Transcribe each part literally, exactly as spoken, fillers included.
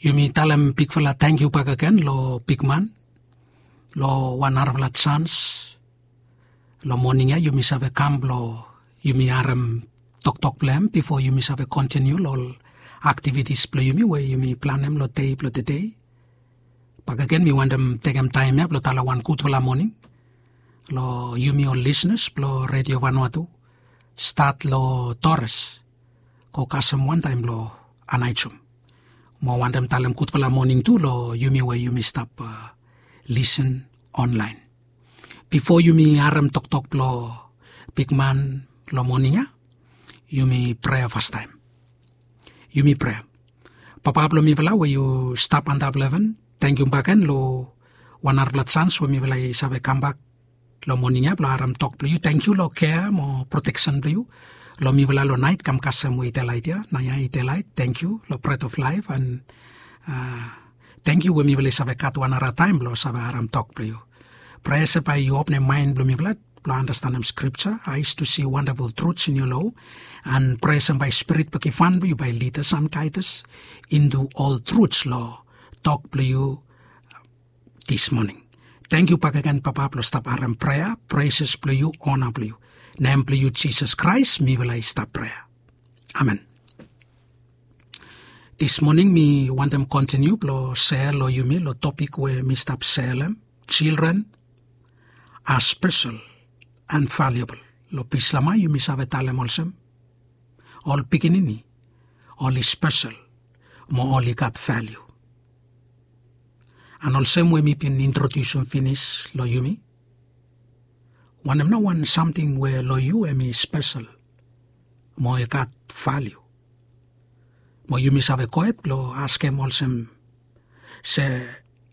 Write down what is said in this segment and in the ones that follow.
Yumi talem bigfala tangkiu bakegen lo bigman lo wan narafala jans. Lo moning ya yumi save kam blo yumi harem toktok blo hem bifo yumi save kontiniu lo ol aktivitis blo yumi we yumi planem lo dei blo tedei. Bakegen mi wantem tekem taem ya blo talem wan gudfala moning lo yumi ol lisnas blo Redio Vanuatu, stat lo Torres go kasem wantaem lo Anaijum. Mo wantem talem gudfala moning tu lo yumi we yumi stap lisen onlaen. Bifo yumi harem toktok blo bigman lo moning ya, yumi prea fastaem. Yumi prea. Papa blo mifala we yu stap antap lo heven, tangkiu bakegen lo wan narafala jans we mifala i save kambak lo moning ya blo harem tok blo yu. Tangkiu lo kea mo proteksen blo yu lo mifala lo naet kam kasem we i delaet ya, naoia i delaet. Tangkiu lo bret of laef an tangkiu we mifala i save gat wan narafala taem blo save harem tok blo yu. Prea se bae yu openem maen blo mifala blo andastanem skripja, eyes to see wonderful truths in your law, an prea se bae spirit blo givhan blo yu bae lead us and guide us into all truths lo tok blo yu this morning. Tangkiu bakegen Papa blo stap harem prea, preses blo yu, ona blo yu. Nem blo yu Jisas Kraes mifala i stap prea. Amen. This morning mi wantem kontiniu blo sea lo yumi lo topik we mi stap sealem, children are special and valuable. Lo Bislama yumi save talem olsem, ol pikinini oli spesel mo oli gat valiu. An olsem we mi bin introdiusum finis lo yumi, wanem nao wan samting we lo yu hem i spesel mo i gat valiu? Mo yumi save gohed blo askem olsem, se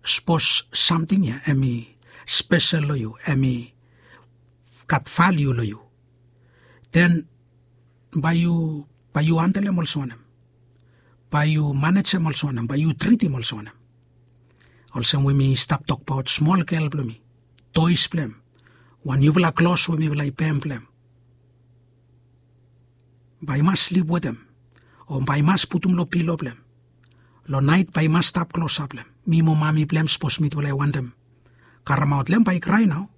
sapos samting ya hem i spesel lo yu, hem i gat valiu lo yu, den bae yu bae yu handelem olsem wanem? Bae yu manejem olsem wanem? Bae yu tritim olsem wanem? Olsem we mi stap tokbaot smol gel blo mi, toes blo hem, wan niufala klos we mifala i pem blo hem, bae i mas slip wetem o bae i mas putum lo pilo blo hem. Lo naet bae i mas stap klosap lo hem. Mi mo mami blo hem, sapos mitufala i wantem karemaot lo hem, bae i krae nao.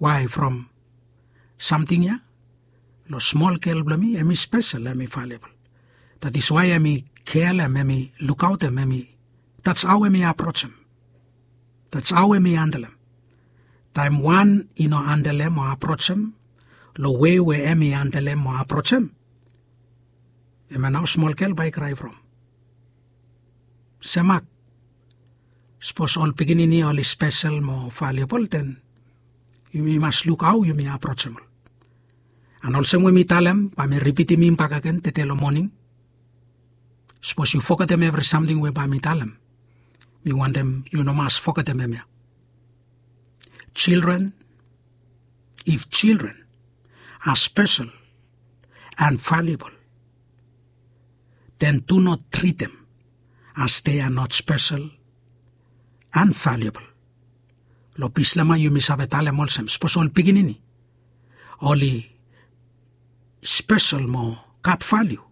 Wae? From samting ya lo smol gel blo mi hem i spesel, hem i valiabol. That is why hem i kealem, hem i lukaotem, hem i, that's how hem i aprojem. That's how hem i handelem. Taem wan i no handelem o aprojem lo wei we hem i handelem o aprojem, hemia nao smol gel bae i krae from. Semak, sapos ol pikinini oli spesel mo valiabol, den yumi mas luk hao yumi aprojem ol. An olsem we mi talem, bae mi ripitim hem bakegen tede lo moning. Sapos yu fogetem evri samting we bae mi talem, mi wantem yu no mas fogetem hemia. Children, if children are special and valuable, then do not treat them as they are not special and valuable. Lo Bislama yumi save talem olsem, sapos ol pikinini oli spesel mo gat valiu,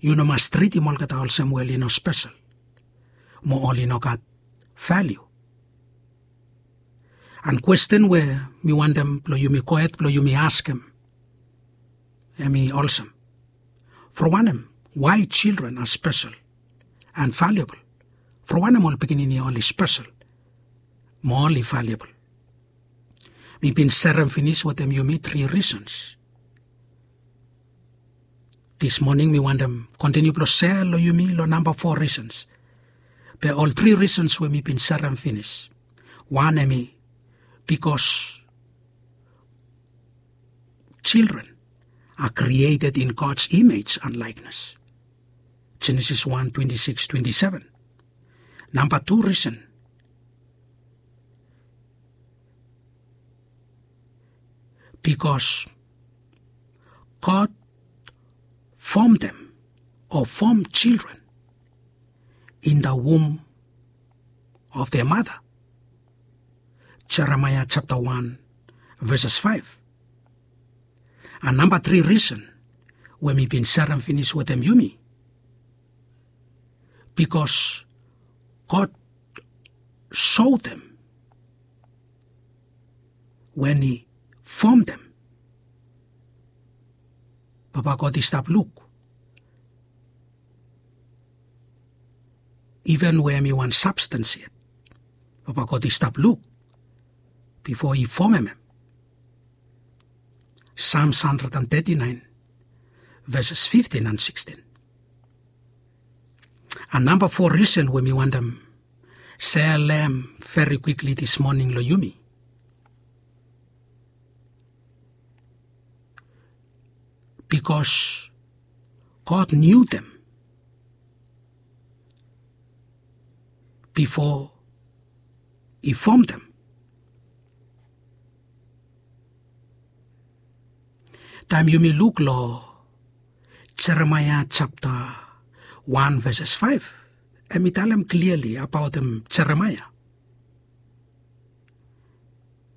yu no mas tritim olgeta olsem we oli no spesel mo oli no gat valiu. An kwesten we mi wantem blo yumi gohed blo yumi askem, hem i olsem, from wanem, why children are special and valuable? From wanem ol pikinini oli spesel mo oli valiabol? Mi bin serem finis wetem yumi tri risens. This morning mi wantem kontiniu blo sea lo yumi lo namba fo risens. Be ol tri risens we mi bin serem finis, wan hem i bikos children are created in God's image and likeness. Genesis wan twenti sikis twenti seven. Namba tu risen, bikos God formed them or formed children in the womb of their mother. Jeremaia japta wan, veses faef. An namba tri risen we mi bin serem finis wetem yumi, Bikos God sotem wen i fomtem, Papa God i stap luk. Iven we hem i wan sabstens yet, Papa God i stap luk bifo i fomem hem. Sam handred an teti naen, veses fiftin an sikstin. An namba fo risen we mi wantem sere hem veri kwikli dis moning long yumi. Bikos God niutem bifo i fomtem. Taem yumi luk long Jeremaea japta wan veses faef, hem i talem kliali abaotem Jeremaea.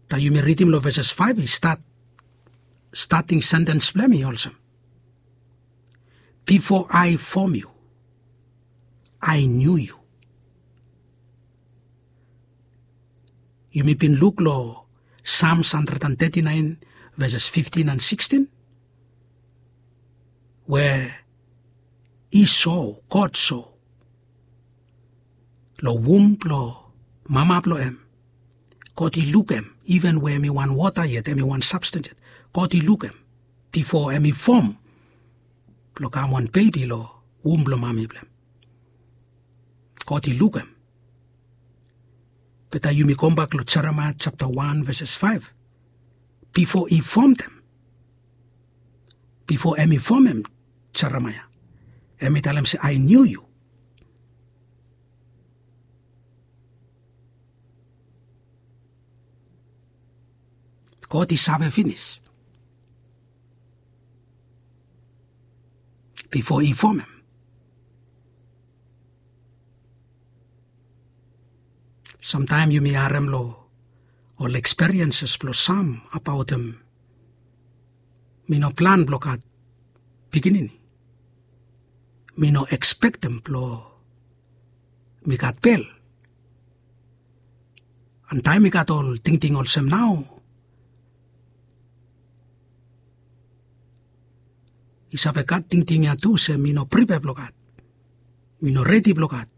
Taem yumi ridim long veses faef, i stat, stating sentens blong hem i olsem, "Before I form you, I knew you." Yumi bin luk long Sam handred an teti naen, veses fiftin an sikstin, we i so, God so, long wum blong mama blong hem, God i lukem, iven we hem i wan wota yet, hem i wan sabstens yet, God i lukem bifo hem i fom blong kam wan bebi long wum blong mami blong hem. God i lukem. Be taem yumi gombak long Jeremaea japta wan veses faef, bifo i fomtem, bifo hem i fomem Jeremaea, hem i talem se, "I knew you." God i save finis bifo i fomem. Samtaem yumi harem long ol ekspirienses blong sam abaotem, mi no plan blong gat pikinini. Mi no ekspektem blong mi gat bel. An taem mi gat ol tingting olsem nao, i save gat tingting ya tu se mi no pripea blong gat, mi no redi blong gat.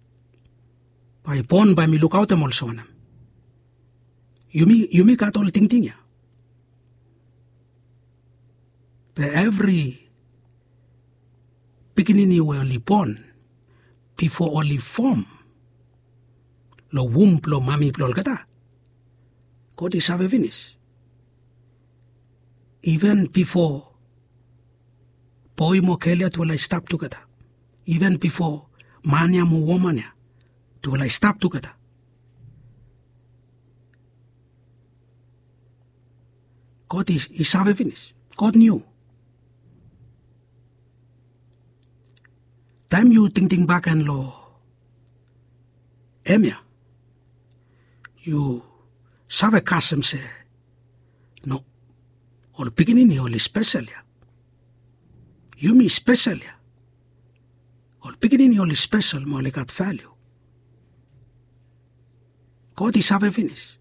Bae i bon bae mi lukaotem olsem wanem? Yumi, yumi gat ol tingting ya. Be evri pikinini we oli bon bifo oli fom long wum blong mami blong olgeta, God i save finis. Iven bifo boe mo gel ya tufala i stap tugeta, iven bifo man ya mo woman ya tufala i stap tugeta, God i, i save finis. God niu. Taem yu tingting bakegen long hemia, yu save kasem se, no, ol pikinini oli spesel ya. Yumi spesel ya. Ol pikinini oli spesel mo oli gat valiu. God i save finis.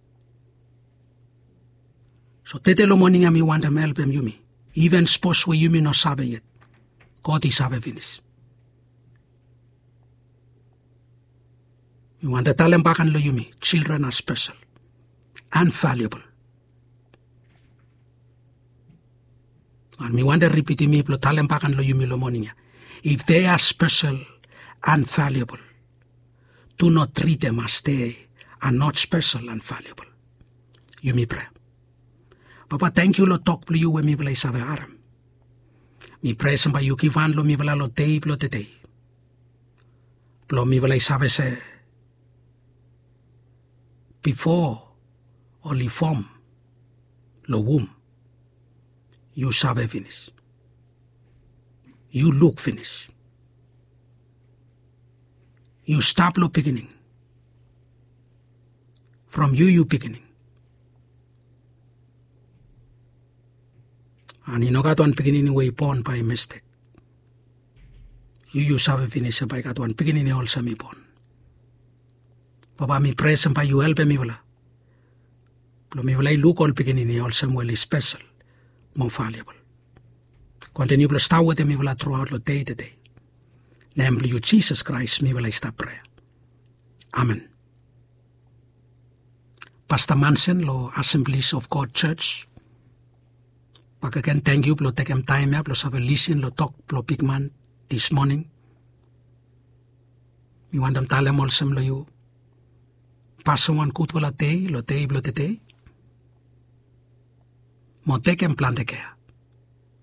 So tede long moning ya mi wantem helpem yumi, iven sapos we yumi no save yet, God i save finis. Mi wantem talem bakegen long yumi, children are special and valuable. An mi wantem ripitim mi blong talem bakegen long yumi long moning ya, if they are special and valuable, do not treat them as they are not special and valuable. Yumi prea. Papa, tangkiu long tok blong yu we mifala i save harem. Mi prea olsem bae yu givhan long mifala long dei blong tede, blong mifala i save se bifo oli fom long wum, yu save finis. Yu luk finis. Yu stap long biginin. From yu yu biginin. An i no gat wan pikinini we i bon bae i mistek. Yu yu save finis se bae i gat wan pikinini olsem i bon. Baba, mi prea se bae yu helpem mifala blong mifala i luk ol pikinini olsem we oli spesel mo valiabol. Kontiniu blong stap wetem mifala truaot long dei tedei. Nem blong yu Jisas Kraes mifala i stap prea. Amen. Pasta Mansen long Assemblies of God Church, bakegen tangkiu blong tekem taem ya blong save lisin long tok blong bigman dis moning. Mi wantem talem olsem long yu, pasem wan gudfala dei long dei blong tedei, mo tekem plante kea.